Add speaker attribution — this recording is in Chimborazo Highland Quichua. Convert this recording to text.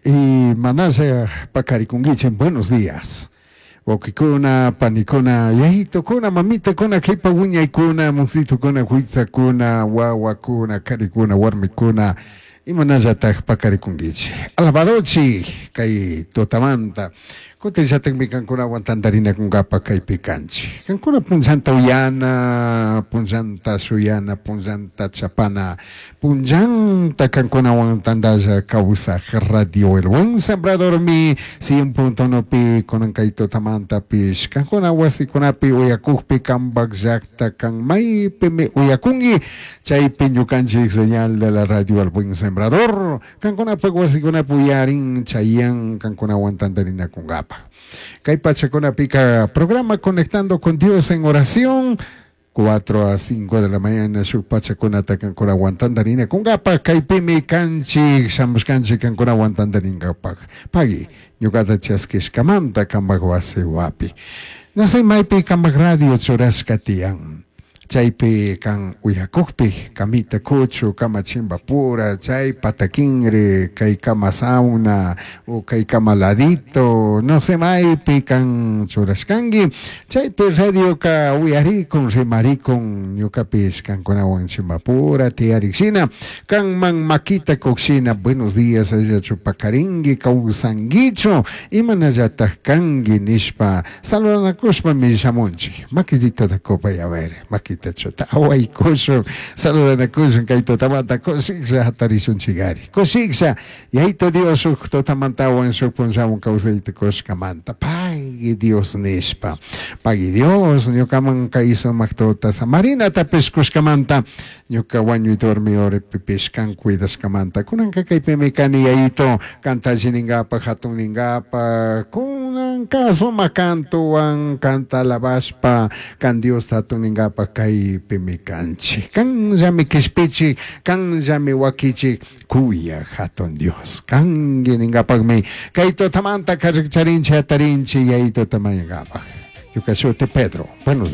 Speaker 1: Imanalla paqarikunkichik, buenos días. Wawqikuna, panikuna, yayitukuna, mamitakuna, qhipa wiñaykuna, musitukuna, huitsakuna, wawakuna, karikuna, warmikuna, imanallataj paqarikunkichik. Alabadochik kay tutamanta. Kutinllatakmi kankunawan tantarinakunkapaj kaypi kanchik. Kankuna punllanta uyana, punllanta shuyana, punllanta chapana, punllanta kankunawan tantalla kawsaj Radio El Buen Sembradormi 100.1pi kunan kay tutamantapish kankuna wasikunapi uyakukpi kambak llakta kan maypimi uyakunki chaypi ñukanchik señal de la Radio El Buen Sembrador kankunapak wasikunapi uyarin chayan kankunawan tantarinakunkapaj. Kay pachakunapika programa Conectando con Dios en Oración 4 a 5 de la mañana shuk pachakunata kankunawan tantarinakunkapaj kaypimi kanchik shamushkanchik kankunawan tantarinkapaj. Pagui ñukata chaskishkamanta kambak wasi wapi. No sé maypi kambak radio churashka tiyan. Chaypi kan uyakukpi kamita kuchu kama chimbapura chay patakinri kay kama sauna o kay kama ladito no sé maypi kan churashkanki chaypi radioka uyarikun rimarikun ñukapish kankunawan chimbapura tiyarikshina kanman makita kukshina buenos días allachu pakarinki kawsankichu imanallataj kanki nishpa saludanakushpami shamunchik makitita kupay a ver makita chuta awaykushun saludanakushun kay tutamanta kushiklla hatarishunchikari kushiklla Yayito Dios shuk tutamantawan shuk punllawan kawsayta kushkamanta pagui Dios nishpa pagui Dios ñukaman kay sumak tuta samarinatapish kushkamanta ñuka wañuy dormi horapipish kan cuidashkamanta kunanka kaypimi kani Yayito kanta alli ninkapak hatun ninkapak kunanka sumak kantuwan kanta alabashpa kan Diosta hatun ninkapak kaypimi kanchik kanllami kishpichik kanllami wakichik kuyak hatun Dios kanki ninkapakmi kay tutamanta karikcharinchik hatarinchik Yayituta mañankapak. Ñuka shuti Pedro. Buenos días.